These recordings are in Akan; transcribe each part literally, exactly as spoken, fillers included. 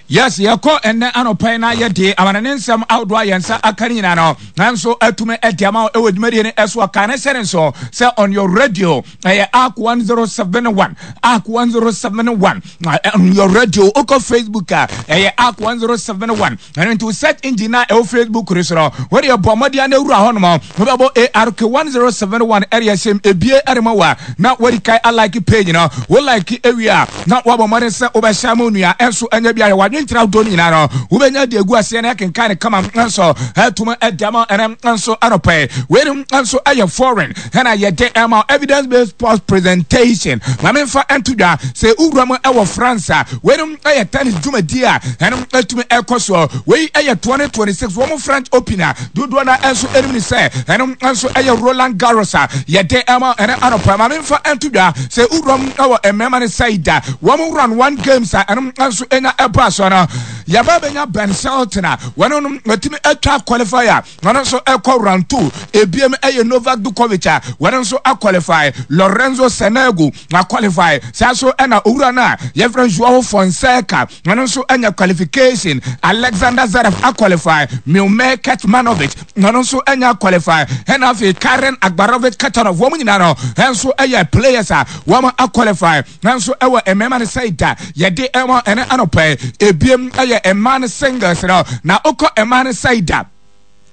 Yes, yɛkɔ ɛnɛ anɔpa yi na yɛde amanane nsɛm ahodoɔ a yɛn nsa aka no nyinaa no nanso atumi adi ama wo ɛwɔ dwumadie no ɛso. Aka ne sɛ ne nso sɛ on your radio ɛyɛ A R K one zero seven one, A R K one zero seven one on your radio. Wokɔ Facebook a, ɛyɛ A R K one zero seven one. Ɛno nti wo search engine a ɛwɔ Facebook no so no, wode ɛbɔ mmɔden na awura hɔ nom, wobɛbɔ A R K one zero seven one, ɛde ɛhyɛm ebie ɛde ma wo a na wadi kan alike page no. Wo like ewie a, na wabɔ mmɔden sɛ wobɛhyɛ ama onua ɛnso ɛnyɛ bi ayɛ wadwenkyerɛ ahodoɔ no nyinaa no, wobɛnya de agu aseɛ na ɛkenkan ne kama nso ɛtum ɛde ama. Ɛnɛ nso anɔpɛ weinom nso ɛyɛ foreign ɛna yɛde ɛma evidence based sports presentation. Maame nfa ɛnto dwa sɛ wura mu ɛwɔ France a, weinom ɛyɛ tennis dwumadie a ɛnom ɛtumi ɛkɔ soɔ. Wei ɛyɛ twenty twenty-six wɔn French Open a dodoɔ no nso ɛnim ne sɛ ɛnom nso ɛyɛ Roland Garros a yɛde ɛma ɛnɛ anɔpɛ. Maame nfa ɛnto dwa sɛ wura mu ɛwɔ mmarima ne side a, wɔn round one games a ɛnom nso ɛnya ɛbɔ aso no, yɛba bɛnya Ben Shelton a wɔn no wɔtumi atwa qualifier, wɔn nso ɛkɔ round two. Ebiem ɛyɛ Novak Djokovic a wɔn nso aqualify, Lorenzo Sonego aqualify, saa so ɛna owura no a yɛfrɛ Joao Fonseca, wɔn nso anya qualification. Alexander Zverev aqualify, Miomir Kecmanovic, wɔn nso anya qualify, ɛna afei Karen Akbarovich Khachanov. Wɔn nyinaa no ɛnso ɛyɛ players a wɔn aqualify. Nanso ɛwɔ mmarima no side a yɛde ɛwɔ ɛne anɔpɛ, ebiem ɛyɛ mmaa no singles no, na okɔ mmaa no side a,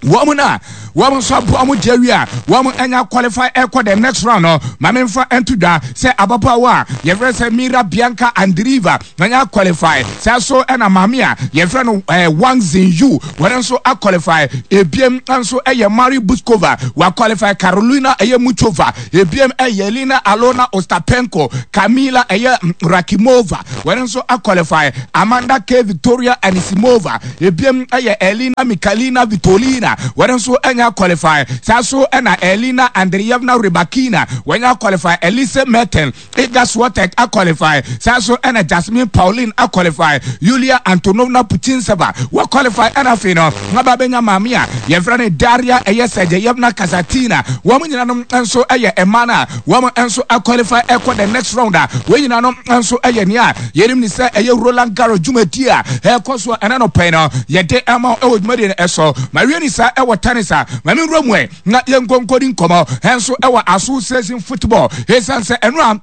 wɔn na wɔn nso aboa wɔn gye awie a wɔn anya qualify ɛkɔ the next round no. Maame nfa nto dwa sɛ ababaawa a yɛfrɛ sɛ Mira Bianca Andreeva anya qualify, saa so ɛna maame a yɛfrɛ no ɛɛ Wang Xinyu, wɔn nso aqualify. Ebiem nso ɛyɛ Marie Bouzkova wa qualify, Carolina ɛyɛ Muchova, ebiem ɛyɛ Elena Alona Ostapenko, Camila ɛyɛ Rakimova, wɔn nso aqualify, Amanda K Victoria Anisimova, ebiem ɛyɛ Elena Mikalina Vitolina, wɔn nso anya qualify, saa so ɛna Elena Andreyevna Rybakina wɔnya qualify, Elise Merten, Iga Swiatek aqualify, saa so ɛna Jasmine Paolini aqualify, Yulia Antonovna Putintseva wɔ qualify, ɛna afei no ngaba bɛnya maame a yɛfrɛ no Daria ɛyɛ Sergeyevna Kasatkina. Wɔn nyinaa no nso ɛyɛ mmaa no a wɔn nso aqualify ɛkɔ the next round a wɔn nyinaa no nso ɛyɛ nea yɛnim ne sɛ ɛyɛ Roland Garros dwumadie a ɛkɔ so. Ɛna no pɛn no yɛde ɛma ɛwɔ dwumadie no ɛso. Ma wie ni saa ɛwɔ tennis a, maame nwura mu ɛ na yɛn nkonkodi nkɔmɔ ɛnso ɛwɔ association football, ɛsiane sɛ ɛno a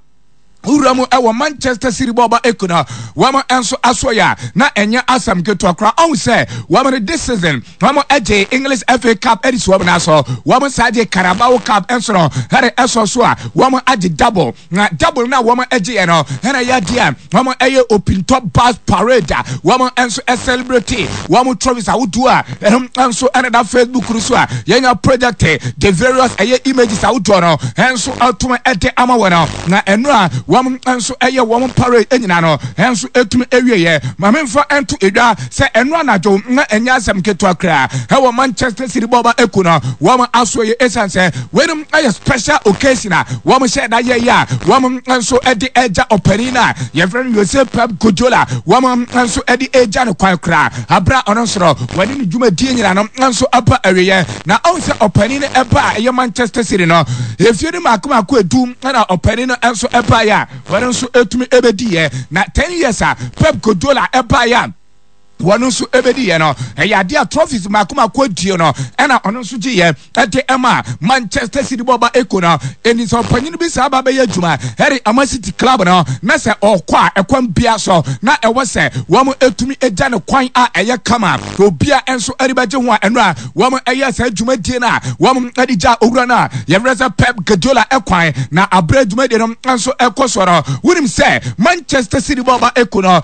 wura mu ɛwɔ Manchester City bɔɔba eku no, wɔn nso aso yɛ a na ɛnyɛ asɛm ketewa koraa. Ɔn sɛ wɔn no this season wɔn agye English F A Cup ɛde si wɔn nan so, wɔn saa gye Carabao Cup nso no ɛde ɛsɔ so a wɔn agye double. Na double na wɔn agye yɛ no, ɛna yɛ adeɛ a wɔn ɛyɛ open top bus parade a wɔn nso ɛcelebrate wɔn trophies ahodoɔ a ɛno nso ɛna da Facebook no so a yɛnya project the various ɛyɛ images ahodoɔ no ɛnso ɛtum ɛde ama wɔn no. Na ɛno a wɔn nso ɛyɛ wɔn parade nyinaa no ɛnso ɛtumi ɛwie. Maame nfa ɛnto edwa sɛ ɛno anadwo na ɛnyɛ asɛm ketewa koraa ɛwɔ Manchester City bɔɔba eku no wɔn aso yɛ, esan sɛ wɔn ɛyɛ special occasion a wɔn hyɛ da yɛ yɛ a wɔn nso ɛde ɛgya ɔpanin a yɛfrɛ no Jose Pep Guardiola, wɔn nso ɛde ɛgya no kwan koraa abira ɔno nso no wɔde ne dwumadie nyinaa no nso aba awieɛ. Na ɔn sɛ ɔpanin no ɛba a ɛyɛ Manchester City no efie no mako mako edu, ɛna ɔpanin no nso ɛba yɛ a wɔn nso etumi ɛbɛdi yɛ. Na ten years a Pep Guardiola ɛba yɛ a wɔn nso ɛbɛdi yɛ no, ɛyɛ adeɛ a trophies mako mako adie no ɛna ɔno nso gye yɛ ɛde ɛma Manchester City bɔba eko no. Ɛni sɛ ɔpanyin bi saa ba bɛyɛ adwuma ɛde ama City club no na sɛ ɔkɔ a, ɛkwan bia so na ɛwɔ sɛ wɔn etumi egya ne kwan a ɛyɛ kama, obia nso ɛde bɛgye ho a ɛno a wɔn ɛyɛ saa dwumadie no a wɔn ɛde gya owura no a yɛfrɛ sɛ Pep Guardiola ɛkwan. Na abere dwumadie no nso ɛkɔ so no, wonim sɛ Manchester City bɔba eko no